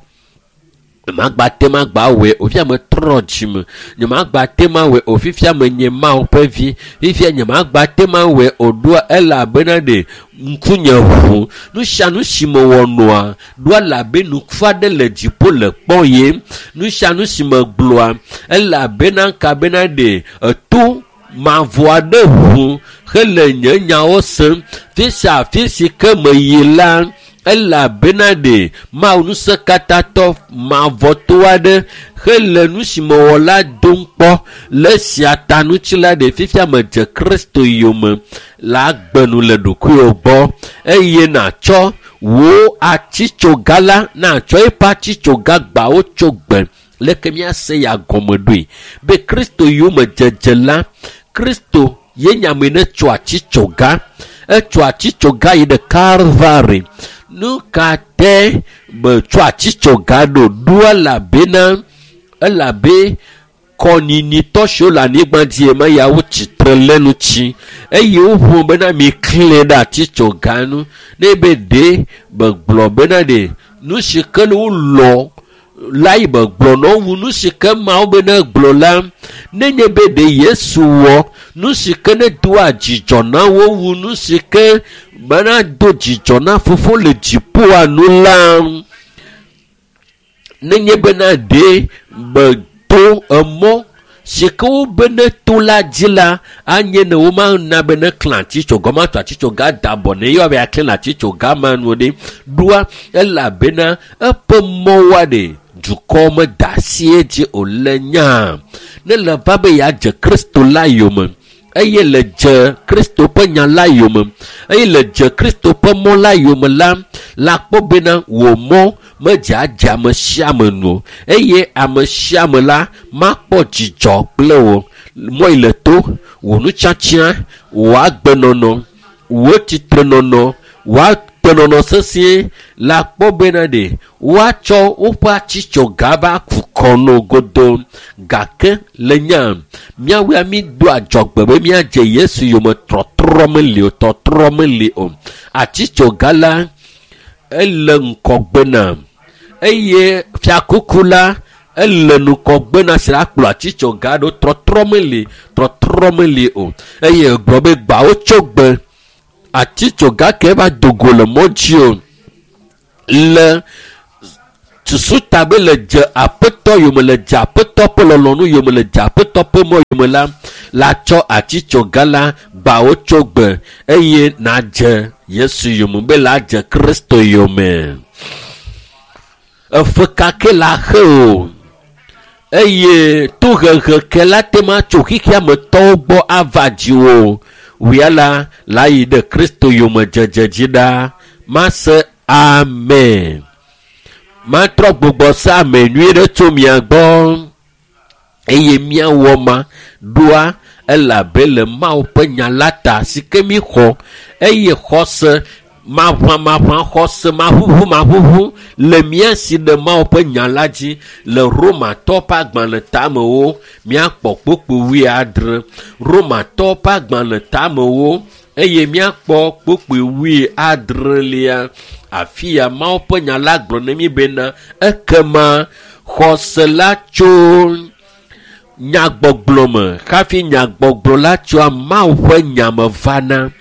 Nyemagba te ma gba wɔe o fifia metrɔ dzime nyemagba te ma wɔe o fifia menye Mawu ƒe vi fifia nyemagba te ma wɔe o ɖoa elabena ɖe ŋkunye ʋu nu sia nu si mewɔ nɔa ɖoa elabe nuku aɖe le dziƒo le kpɔ ye nu sia nu si megblɔa elabena kabena ɖe eto mavɔ aɖe ʋu hele nye nyawo sem fi sia afi si ke meyi la elabena ɖe Mawu ŋusẽkatãtɔ mavɔto aɖe hele nu si mewɔ la dom kpɔ le esia ta ŋuti la ɖe fifia medze Kristo yome le agbe nu le ɖokuiwò gbɔ eye nàtsɔ wò atitsoga la nàtsɔ eƒe atitsoga gbawo tso gbe leke míase ya gɔme ɖoe be Kristo yome dzedze la Kristo ye nye ame ne tso atitsoga etso atitsoga yi ɖe Kalvari nu ka te metso atitsoga ɖo ɖo elabena elabe kɔnyinyiitɔ siwo le anyigba dzi ema ya wotsitre le ŋuti eye woƒo bena miklẽ ɖe atitsoga nu ne be ɖe megblɔ bena ɖe nu si ke wolɔ la yi megblɔ na wo nu si ke Mawu bena gblɔ la nenye be ɖe Yesu wɔ nu si ke ne doa dzidzɔ na wo wu nu si ke Bena do dzidzɔ na fofo le dziƒoa nu la, nenye bena ɖe meto emɔ si ke wobe ne to la dzi la, anye ne womana be ne klã atitsoga, womatɔ atitsoga da abɔ ne yewoa be aklẽ le atitsoga ma nu ɖe. Ɖoa elabena eƒe mɔwoa ɖe dukɔ meda asi edzi o le nyaa. Ne le va be yeadze Kristo la yome, eye le dze Kristo ƒe nya la yome, eye le dze Kristo ƒe mɔ la yome la, la kpɔ bena wò mɔ medze adze ame sia ame nu o, eye ame sia ame la makpɔ dzidzɔ kple wò. Mɔ yi le to, wò nutsatsia, wò agbenɔnɔ, wò tsitrenɔnɔ, wò agbenɔnɔ sesĩe la kpɔ bena ɖe woatsɔ woƒe atitsoga va ku kɔ no godo. Gake le nya míawoa mi do adzɔgbe be míadze Yesu yome, trɔtrɔ meli o, tɔtrɔ meli o. Atitsoga la ele ŋkɔgbe na, eye fiakuku la ele nukɔgbe na si la kplɔ atitsoga ɖo. Trɔtrɔ meli, trɔtrɔ meli o. Eye egblɔ be gbawo tso gbe atitsoga ke va do go le mɔ dzi o. Le susu ta be le dze aƒetɔ yome, le dze aƒetɔ ƒe lɔlɔ̃nu yome, le dze aƒetɔ ƒe mɔ yome la, la tsɔ atitsoga la gbawo tso gbe eye nadze Yesu yome, be la dze Kristo yome. Efe ka ke la xe o, eye tohehe ke la te ma tso xexea me tɔwo gbɔ ava dziwò. Wia la, la yi ɖe Kristo yome dzedze dzi ɖa. Mase amen. Matrɔ gbugbɔ se ame nyui ɖe tso mia gbɔ, eye míawɔ ma ɖoa, elabe le Mawu ƒe nya la ta si ke mi xɔ, eye xɔse maʋamaʋã, xɔse maʋuʋu maʋuʋu le mía si ɖe Mawu ƒe nya la dzi. Le Romatɔ ƒe agbalẽ tamewo míakpɔ kpukpui 70. Romatɔ ƒe agbalẽ tamewo eye míakpɔ kpukpui 70. Afi ya Mawu ƒe nya la gblɔ ne mí bena ekema xɔse la tso nyagbɔgblɔ me, hafi nyagbɔgblɔ la tsoa Mawu ƒe nya me vana.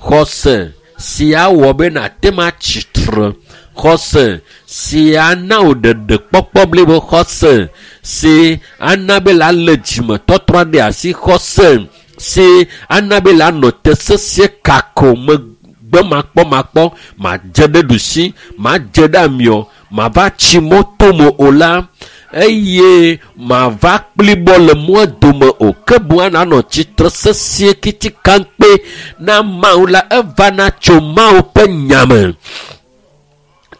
Xɔse si awɔ be nàte ŋu atsi tre, xɔse si ana wò ɖeɖekpɔkpɔ blibo, xɔse si ana be la lé dzimetɔtrɔ ɖe asi, xɔse si ana be la nɔ te sesĩe kako megbe makpɔmakpɔ, madze ɖe ɖusi, madze ɖe amiɔ, mava tsi mɔ tome o la, eye mava kplibɔ le mɔa dome o, ke boŋ nanɔ tsitre sesĩe kitikankpe na Mawu la, evana tso Mawu ƒe nya me.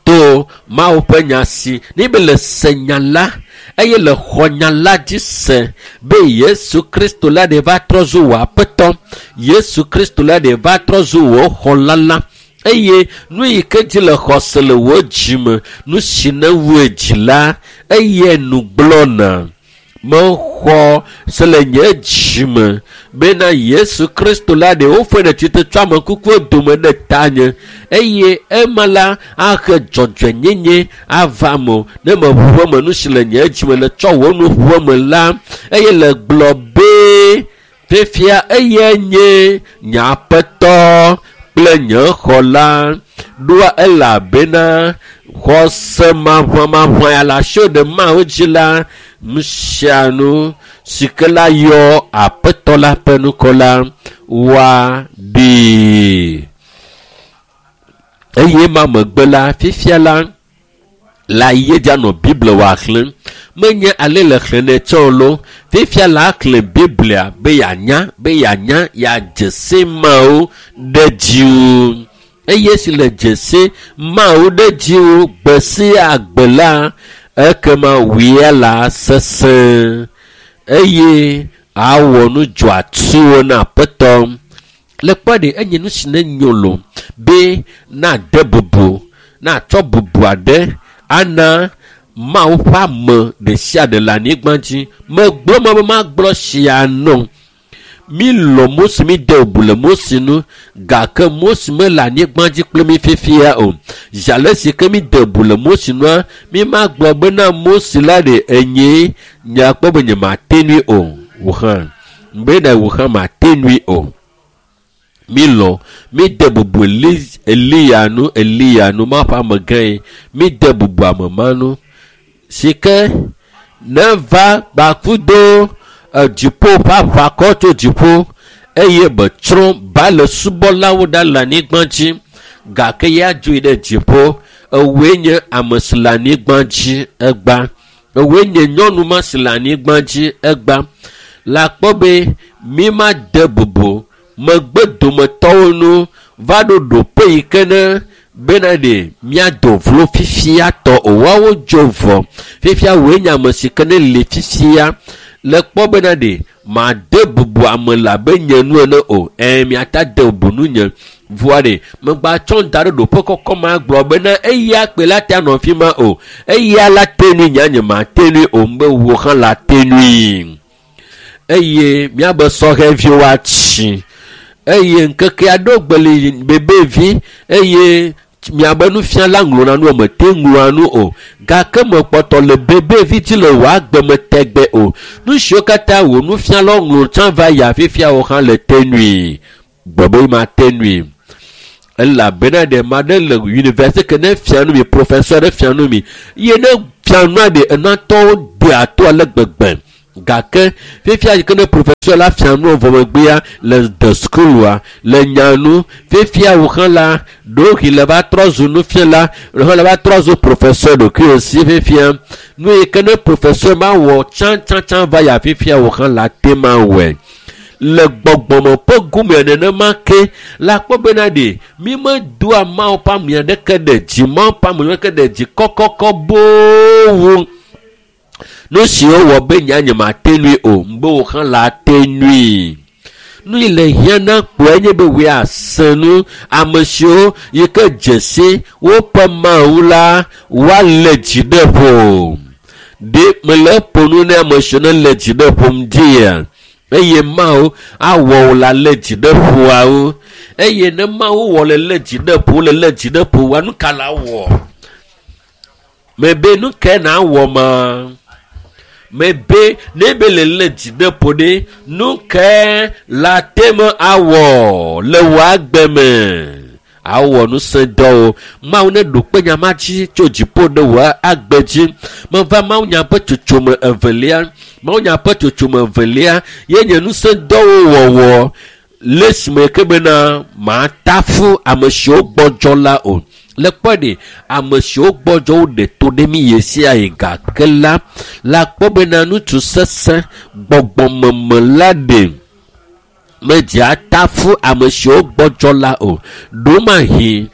To Mawu ƒe nya si ne be le se nya la, eye le xɔ nya la dzi se be Yesu Kristo la ɖe va trɔ zu wò aƒetɔ, Yesu Kristo la ɖe va trɔ zu wò xɔla la, eye nu yi ke dzi le xɔse le wò dzime, nu si ne wue dzi la, eye nu gblɔna. Mexɔ se le nye dzime bena Yesu Kristo la ɖe woƒe ɖe tsitre tso ame kukuwo dome ɖe tanye, eye ema la ahe dzɔdzɔenyenye ava me o. Ne meʋu eme nu si le nye dzime le tsɔ wò nu ʋu eme la, eye le gblɔ be fifia eye nye nye aƒetɔ kple nye xɔla. Ɖoa elabena xɔse maʋamaʋã ya le asiwò ɖe Mawu dzi la, nu sia nu si ke la yɔ aƒetɔ la ƒe ŋkɔ la woaɖee. Eye ma megbe la, fifia la, la yi edzi anɔ Biblia wòaxlẽ. Menye ale le xlẽnɛ tsɛ o lo. Fifia la xlẽ Biblia be yeanya, be yeanya, yeadze si Mawu ɖe dziwò. Eye si le dze si Mawu ɖe dziwò gbe sia gbe la, ekema wòe la sesẽ, eye awɔ nu dzɔatsuwo na aƒetɔ. Le kpɔ ɖe enye nu si ne nyo lo be nade bubu, natsɔ bubu aɖe ana Mawu ƒe ame ɖe sia ɖe le anyigba dzi. Megblɔ me be magblɔ sia nɔ. Mi lɔ̃ Mose, mi de bubu le Mose ŋu, gake Mose mele anyigba dzi kple mi fifia o. Zi ale si ke mi de bubu le Mose ŋua, mi magblɔ bena Mose la ɖe enye nyakpɔ be nyemate nui o. Wò hã, be ɖe wò hã mate nui o. Mi lɔ̃, mi de bubu Eliya nu, Eliya nu, Mawu ƒe amegã ye. Mi de bubu ame ma nu. Si ke ne va gbakudo dziƒo ƒe aʋakɔ tso dziƒo eye betsrɔ̃ Baal subɔlawo ɖa le anyigba dzi gake ya dzoe ɖe dziƒo. Ewoe nye ame si le anyigba dzi egba. Ewoe nye nyɔnu ma si le anyigba dzi egba. Le akpɔ be mi ma de bubu megbe dometɔwo nu va ɖo ɖoƒe yi ke ne bena ɖe míado vlo fifia tɔ o. Woawo dzo vɔ. Fifia woe nye ame si ke ne le fifia le kpɔ bena ɖe made bubu ame le abe nye nu ene o. Miata de bubu nu nye. Vɔa ɖe megba tsɔ da ɖe ɖoƒe kɔkɔ ma gblɔ bena eya kpe la te anɔ fi ma o. Eya la te nui nya nye ma te nui o. Mbe wo hã la te nui. Eye miabe sɔhɛviwo atsi. Eye ŋkeke aɖewo gbe li bebevi eye miabe nufiala ŋlɔna nu me te ŋlɔa nu o. Gake mekpɔtɔ le bebevi dzi le wò agbe me tegbe o. Nu siwo katã wò nufialawo ŋlɔ tsã va yi fifia wo hã le te nui. Gbɔ be ma te nui. Elabena ɖe ma ɖe le université ke ne fia nu mi, professeur ɖe fia nu mi. Ye ne fia nua ɖe enatɔwo dea to ale gbegbe. Gake fifia yi ke ne professeur la fia nu vɔ megbea le de skulua le nya nu fifia wo hã la ɖewohĩ le va trɔ zu nufiala ɖewo hã le va trɔ zu professeur ɖokuiwo si fifia nu yi ke ne professeur ma wɔ tsãtsãtsã va ya fifia wo hã la te ma wɔe. Le gbɔgbɔme ƒe gome nenema ke la kpɔ bena ɖe mi medoa Mawu ƒe ame aɖeke ɖe dzi, Mawu ƒe ame aɖeke ɖe dzi kɔkɔkɔ boo wu. Nu siwo wɔ be nya nye mate nui o, mbe wo hã la te nui. Nu yi le hiã na kpɔe nye be woe asẽ nu ame siwo yi ke dze si woƒe Mawu la woalé dzi ɖe ƒo. Ɖe mele ƒo nu ne ame siwo ne lé dzi ɖe ƒom dzia? Eye Mawu awɔ wò la lé dzi ɖe ƒoawo. Eye ne Mawu wɔ le lé dzi ɖe ƒo, le lé dzi ɖe ƒo, nu ka la wɔ? Mebe nu ke na wɔ ma? Mebe ne be le lé dzi ɖe ƒo ɖe, nu ke la te me awɔ le wò agbe me? Awɔ ŋusẽ dɔwo. Mawu ne ɖo kpe nya ma dzi tso dziƒo ɖe wò agbe dzi. Meva Mawu nya ƒe tsotsome evelia. Mawu nya ƒe tsotsome evelia ye nye ŋusẽ dɔwo wɔwɔ le esime ke bena matafu ame siwo gbɔdzɔ la o. Le kpɔ ɖe ame siwo gbɔdzɔ wo ɖe to ɖe mi ɣe sia ɣi gake la, la kpɔ bena ŋutsu sesẽ gbɔgbɔmeme la ɖe medze atafu ame siwo gbɔdzɔ la o. Ɖomahi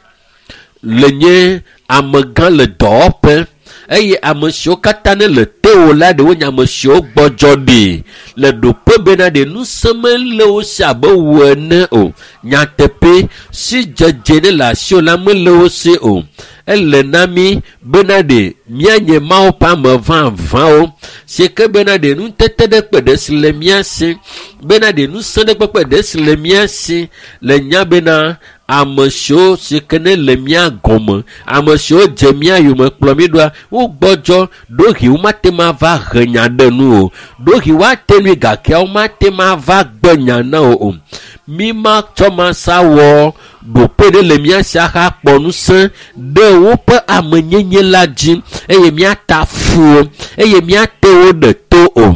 le nye amegã le dɔwɔƒe eye ame siwo katã ne le tewò la ɖe wonye ame siwo gbɔdzɔ ɖi le ɖoƒe bena ɖe ŋusẽ mele wo si abe wò ene o. Nyateƒe si dzedze ne le asiwò la mele wo si o. Ele na mi bena ɖe míanye Mawu ƒe ame vavãwo si ke bena ɖe nutete ɖe kpe ɖe si le mía si bena ɖe ŋusẽ ɖe kpekpe ɖe si le mía si le nya bena ame siwo si ke ne le mía gɔme, ame siwo dze mía yome kplɔ mí ɖoa, wogbɔdzɔ ɖohi womate ŋu ava he nya ɖe nu o. Ɖohi woate nui gake womate ŋu ava gbe nya na wo o. Mi ma tsɔ ma sa wɔ ɖoƒe ɖe le mía si ahakpɔ ŋusẽ ɖe woƒe amenyenye la dzi eye míata fu wo eye míate wo ɖe to o.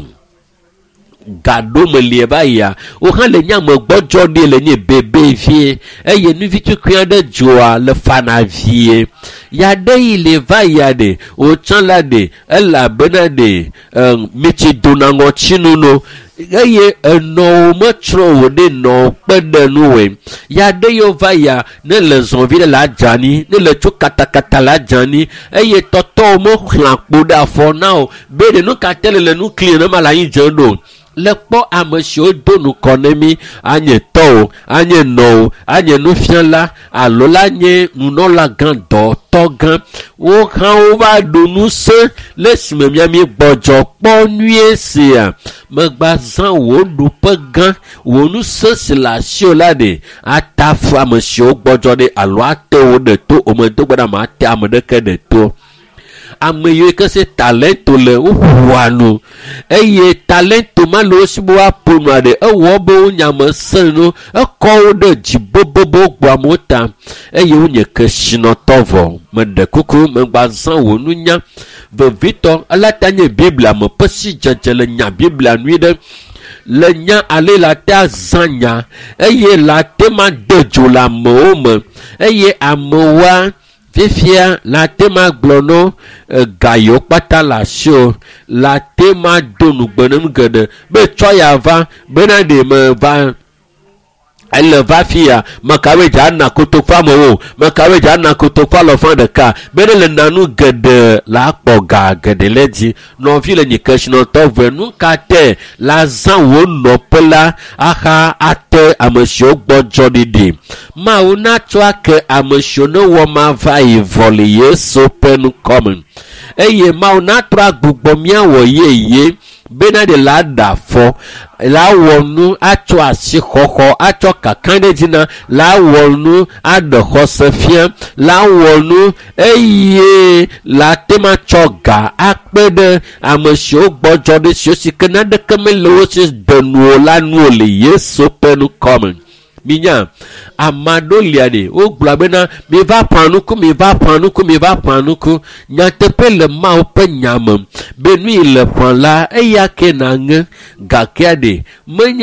Gaɖo me lie va yia, wo hã le nye ame gbɔdzɔ ɖi le nye bebe vie eye nuvitukui aɖe dzoa le fana vie. Ya ɖe yi le va yia ɖe, wotsã la ɖe, elabena ɖe mitsi dona ŋɔtinu no eye enɔwo metsrɔ̃ wò ɖe nɔwo kpe ɖe nuwɔe. Ya ɖe yiwo va yia, ne le zɔvi ɖe le adzani, ne le tso katakata le adzani eye tɔtɔwo mexlã kpo ɖe afɔ na o be ɖe nu ka te le le nu kli ne ma le anyi dze ɖo. Le kpɔ ame siwo do nukɔ ne mi, anye tɔwo, anye nɔwo, anye nufiala alo la nye nunɔla gã, dɔtɔ gã. Wo hã wova ɖo ŋusẽ le esime mía mi gbɔdzɔ kpɔ nyuie sia. Megba zã wò ɖoƒe gã, wò ŋusẽ si le asiwò la ɖe atafu ame siwo gbɔdzɔ ɖe alo ate wo ɖe to o. Medo gbe ɖa mate ame ɖeke ɖe to. Ame yiwo ke se talento le woƒoa nu eye talento ma le wo si be woaƒo nua ɖe ewɔ be wo nyame sẽ no ekɔ wo ɖe dzi bobobo gbɔ amewo ta eye wonye kesinɔtɔ vɔ. Meɖe kuku megba zã wò nunya vevitɔ elata nye Biblia me ƒe sidzedze le nya Biblia nyui ɖe le nya ale la te azã nya eye la te ma de dzo le amewo me eye amewoa fifia la te ma gblɔ no ga yiwo kpata le asi o la te ma do nugbe ne nu geɖe be tsɔ ya va bena ɖe me va ele va fia mekawoe dza na kotoku amewo mekawoe dza na kotoku alɔfa ɖeka be ne le nanu geɖe la akpɔ ga geɖe le dzi. Nɔvi le nyi kesinɔtɔ ve nu ka te la zã wò nɔƒe la aha ate ame siwo gbɔdzɔ ɖiɖi. Mawu natsɔ ake ame siwo ne wɔ ma va yi vɔ le Yesu ƒe ŋkɔme eye Mawu natrɔ agbugbɔ míawɔ yeye bena ɖe la ɖe afɔ la wɔ nu atsɔ asixɔxɔ atsɔ kakaɖedzi na la wɔ nu aɖe xɔse fia la wɔ nu eye la te ma tsɔ ga akpe ɖe ame siwo gbɔdzɔ ɖe siwo si ke naneke mele wo si de nu o la nu o le Yesu ƒe ŋkɔme. Minya ame aɖewo lia ɖe wogblɔ bena miva ƒã nuku miva ƒã nuku miva ƒã nuku. Nyateƒe le Mawu ƒe nya me be nu yi le ƒã la eya ke naŋe gakea ɖe menye.